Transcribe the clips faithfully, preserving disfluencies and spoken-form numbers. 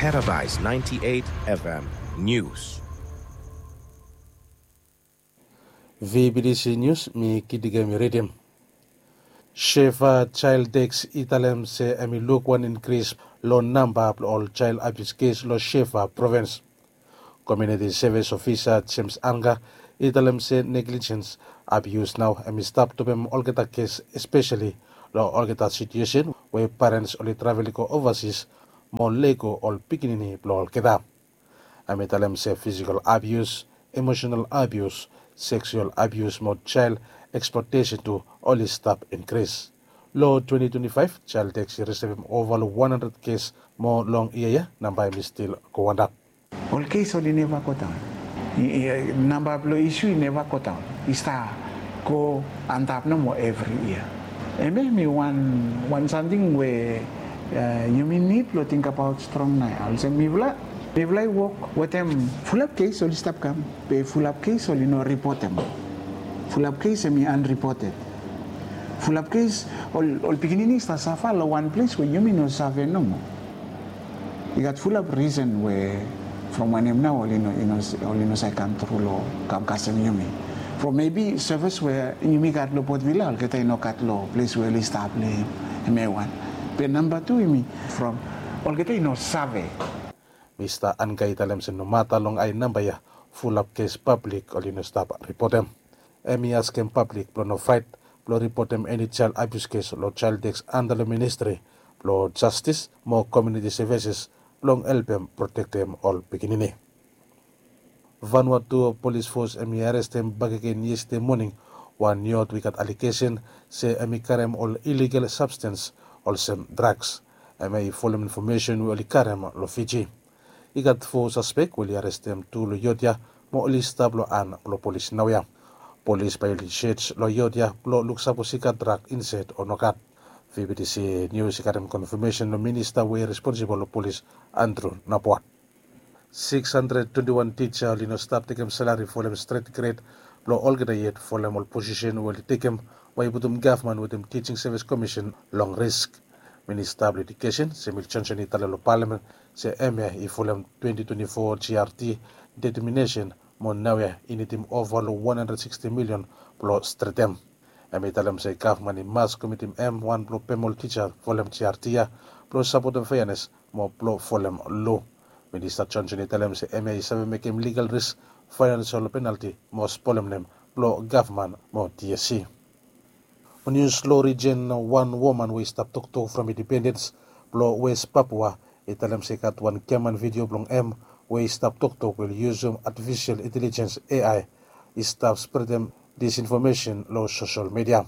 Paradise ninety-eight F M News. V B T C News, mi Kidiga mi ridim. Shefa Child Desk i talem se hemi luk wan inkris long namba blong ol child abuse kes long Shefa provins. Community Service Officer James Anga i talem se negligence, abuse nao hemi stap topem olgeta kes, espeseli long olgeta situesen we parents oli travel i go ovasis mo lego ol pikinini blong olgeta. Hemi talem se physical abuse, emotional abuse, sexual abuse mo child exploitation tu oli stap inkris. Long twenty twenty-five, Child Desk i risivim ova long wan handred kes, mo long yia ya namba hemi stil go antap. Ol kes oli neva go daon. Namba blong isu i neva go daon, i stap go antap nomo evri yia. Hemia hemi wan samting we yumi nid blong tingbaot strong nao ya. Olsem mifala, mifala i wok wetem fulap kes oli stap kam, be fulap kes oli no ripotem. Fulap kes hemi anripoted. Fulap kes ol pikinini i stap safa long wan ples we yumi no save nomo. I gat fulap risen we from wanem nao oli no save kam tru long kam kasem yumi. From mebi sevis we yumi gat long Port Vila, olgeta i no gat long ples we oli stap long hem. Hemia i wan. Be namba tu hemi from olgeta i no save. Mista Anga i talem se nomata long ae namba ya, fulap kes pablik oli no stap ripotem. Hemi askem pablik blong no fraet blong ripotem eni child abuse kes long Child Desk anda long Ministri blong Jastis mo Komuniti Sevises blong helpem protektem ol pikinini. Vanuatu Polis Fos hemi arestem bakegen yestede moning wan yot we i gat alegesen se hemi karem ol iligal sabstens olsem draks. Hemia i folem infomesen we oli karem long Fiji. I gat fo saspek we oli arestem tu long yot ya mo oli stap long han blong polis naoia. Polis bae oli sej long yot ya blong luk sapos i gat drak insaed o nogat. V B T C Nius i karem konfamesen long minista we i responsibol long polis, Andrew Napuat. Siks handred twenti wan tija oli no stap tekem salari folem stret gred blong olgeta yet folem ol posisen we oli tekem, we i putum gavman wetem Tijing Sevis Komisen long risk. Minista blong Ejukesen, Samuel Johnson, i talem long palamen se hemia i folem twenti twenti fo G R T deteminesen mo naoia i nidim ova long wan handred siksti milion blong stretem. Hemi talem se gavman i mas komitim hem wan blong pem ol tija folem G R T ya blong sapotem feanes mo blong folem lo. Minista Johnson i talem se hemia i save mekem ligal risk, faenansol penalti mo spolem nem blong gavman mo T S C. Mo nius long rijen, wan woman we i stap toktok from Independens blong Wes Papua i talem se i gat wan giaman vidio blong hem we i stap toktok we oli yusum atifisel intelejens, A I, i stap spretem disinfomesen long sosel midia.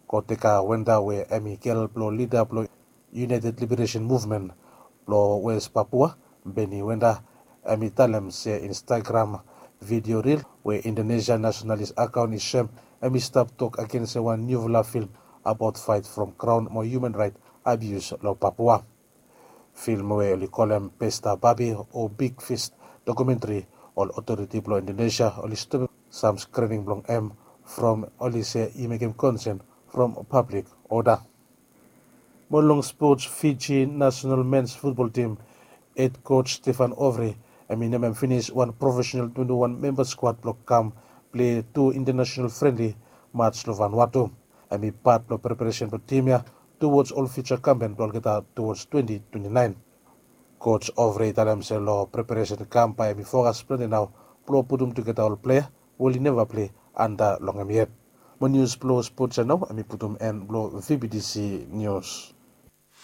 Koteka Wenda we hemi gel blong lida blong United Liberation Movement blong Wes Papua, Beni Wenda, hemi talem se Instagram vidio ril we Indonesia nasenalis akaon i sem, hemi stap tok agen se wan niufala film abaot faet from graon mo hiuman raet abius long Papua. Film we oli kolem Pesta Babi o Big Fist dokumentri, ol otoriti blong Indonesia oli stopem sam skrining blong hem from oli se i mekem konsen from pablik oda. Mo long spots, Fiji nasenal mens futbol tim hed koj Stefan Ovry hemi namem finis wan profesenal twenti wan memba skuad blong kam plei tu intanasenal frenli maj long Vanuatu. Hemi pat blong preparesen blong tim ya tuwoj ol fiuja kampen blong olgeta tuwoj twenti twenti naen. Koj Ovry i talem se long preparesen kam bae hemi fokas plante nao blong putum tugeta ol plea we oli neva plei anda long hem yet. Mo nius blong spots ya nao hemi putum en blong V B T C Nius.